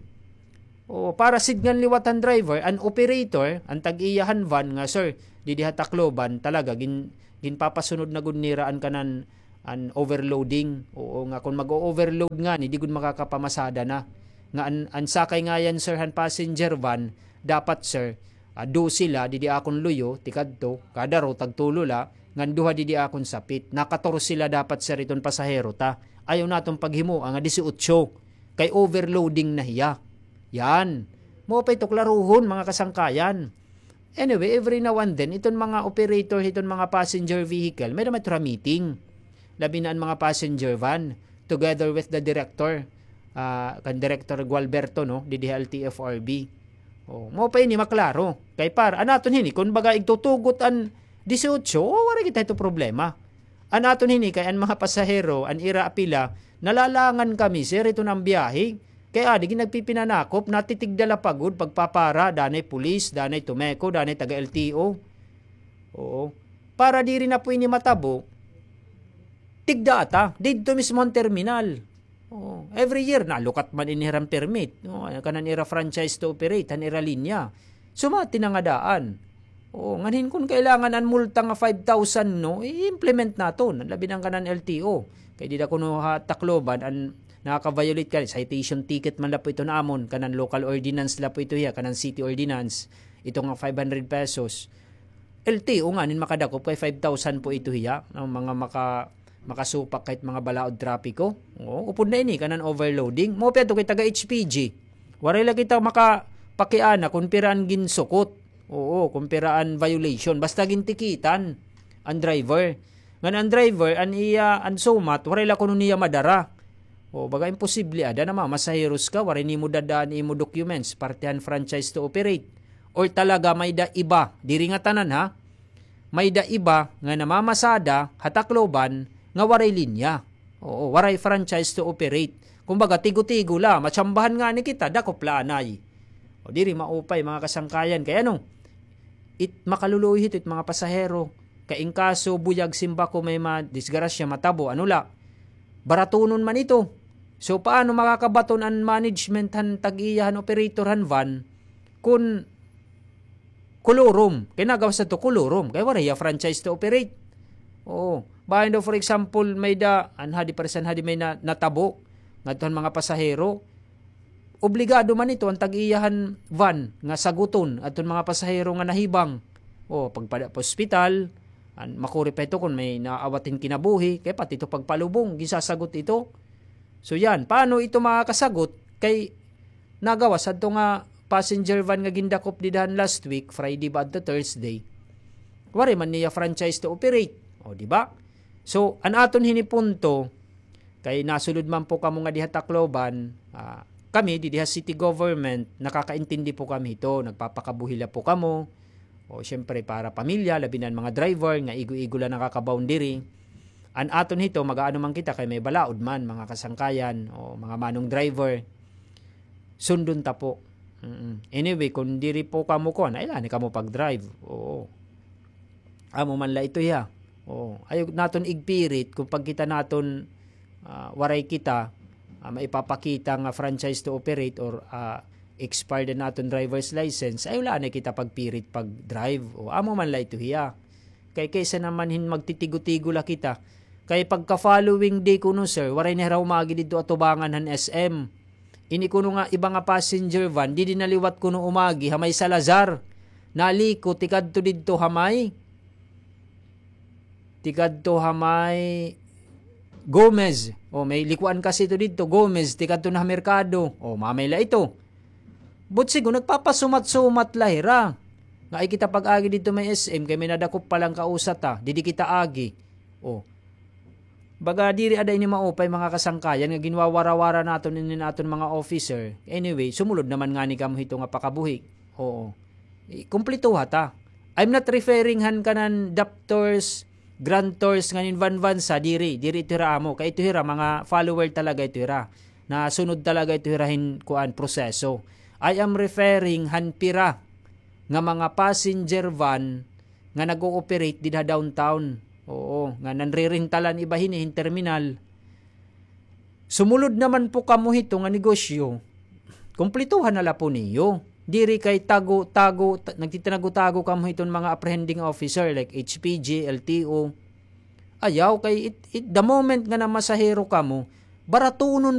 Oo, para sidngan liwat han driver, an operator, an tag-iya han van nga, "Sir, didi ha Tacloban, talaga, gin-, ginpapasunod na gud nira an kanan, an overloading." Oo, nga kun mag-o-overload ngani, di gud makakapamasada na. Nga an, an sakay ngayan, sir, han passenger van, dapat, sir, ah, dose la, didi akon luyo, tikadto, kada row, tagtulo la, ngan duha didi akon sapit. Nakatorse la dapat, sir, iton pasahero ta. Ayaw naton paghimoa nga disiotso. Kay overloading na hiya. Yan. Mao pa ito klaruhon, mga kasangkayan. Anyway, every now and then, iton mga operator, iton mga passenger vehicle, may naman ito meeting. Labi na an mga passenger van, together with the director, ah, kan Director Gualberto, no, didi ha L T F R B. O, mao pa ini maklaro. Kay par, an aton hini, kun baga igtutugot an disiotso, o, waray kita ito problema. An aton hini kay an mga pasahero, an ira apila, nalalangan kami, sir, iton nga biyahe. Kay adi, ginagpipinanakop, natitigda la pa gud, pagpapara, danay pulis, danay Tumeco, danay taga L T O. Oo. Para diri na po ini matabo, tigda ata, didto mismo han terminal. Oo. Every year, nalukat man ini hiram permit. Oo, kanan ira franchise to operate, han ira linya. Sumati na nga daan. Oo, nganhin kun kailangan an multa nga five thousand, no, i-implement naton, labi na an kanan L T O. Kay dida kuno ha Tacloban, an nakaka-violate ka, citation ticket man la po ito namon, kanan local ordinance la po ito hiya, kanan city ordinance, ito nga five hundred pesos. L T O nganin makadakop kay five thousand po ito hiya, no, mga maka-, makasupak kahit mga balaod trapiko. Oo, upod na ini, kanan overloading. Mao pa ito kay taga H P G. Waray la kita makapakiana kun pira an ginsukot. Oo, kun pira an violation. Basta gintikitan an driver. Ngan an driver, an iya, an sumat, waray la kuno niya madara. O, baga imposible, ada na mamasaheros ka, waray nimo dadaan imo documents, parte han franchise to operate. Or talaga may-ada iba, diri ngatanan ha, may-ada iba nga namamasada ha Tacloban nga waray linya. Oo, waray franchise to operate. Kumbaga, tigo-tigo la, matsambahan ngani kita, dakop la anay. O, diri maupay, mga kasangkayan. Kay ano, it makaluluoy hito it mga pasahero. Kay in kaso, buyag, simbako, may madisgrasya, matabo, ano la, baratunon man ito. So, paano makakabaton an management han tag-iya han operator han van kun kolorum? Kay nagawas na to kolorum. Kay waray hiya franchise to operate. Oo. Bahin daw, for example, may-ada, an hadi, paresan hadi may na-, natabo ngadto han mga pasahero. Obligado man ito an tag-iya han van nga saguton adton mga pasahero nga nahibang. O, pagpada pa ospital, an, makuri pa ito kun may naawat hin kinabuhi, kay pati ito pagpalubong, ginsasagot ito. So, yan. Paano ito makakasagot? Kay nagawas adto nga passenger van nga gindakop dida han last week, Friday ba adto Thursday? Waray man niya franchise to operate. O, di ba? So, an aton hini punto, kay nasulod man po kamo nga diha Tacloban, ah, kami, didi ha city government, nakakaintindi po kami hito, nagpapakabuhi la po kamo. O, siyempre, para pamilya, labi na an mga driver, nga igo-igo la nakakabaon diri. An aton hito, mag-aano man kita, kay may balaod man, mga kasangkayan, o mga manong driver. Sundon ta po. Mm-mm. Anyway, kun diri po kamo kuan, ay, lani kamo pag-drive. Oo. Amo man la ito hiya. Oo. Ayaw naton igpirit kun pagkita naton, ah, waray kita, ah, maipapakita nga franchise to operate or, ah, expired na aton driver's license, ayaw la anay kita pagpirit pag-drive. O, amo man la ito hiya. Kay kaysa naman hin magtitigo-tigo la kita. Kay pagka following day kuno, sir, waray na hira umagi didto atubangan han S M. Ini kuno nga iba nga passenger van, didi na liwat kuno umagi ha may Salazar. naliko tikadto didto ha may, tikadto ha may Gomez. O, may likuan kasi ito didto, Gomez, tikadto na ha merkado. O, mamay la ito. But sigo, nagpapasumat-sumat la hira. Nga ay kita pag-agi didto may S M, kay may nadakop pa lang kausa ta, didi kita agi. O. Baga diri ada ini maupay, mga kasangkayan, nga ginwawara-wara naton ini naton mga officer. Anyway, sumulod naman ngani kamo hito nga pakabuhi. Oo. I-, kumplituha ta. I'm not referring han kanan daptors, grantors, nganin vanvansa, diri, diri ito hira amo. Kay ito hira, mga follower talaga ito hira. Nasunod talaga ito hira hin, kuan, proseso. I am referring han pira nga mga passenger van nga nag-ooperate dida ha downtown. Oo, nga nanrerentalan iba hini hin terminal. Sumulod naman po kamo hito nga negosyo, kumplituhan na la po niyo. Diri kay tago, tago, ta-, nagtitinago-tago kamo hiton mga apprehending officer like H P G, L T O. Ayaw, kay it, it, the moment nga namasahero kamo, baratunon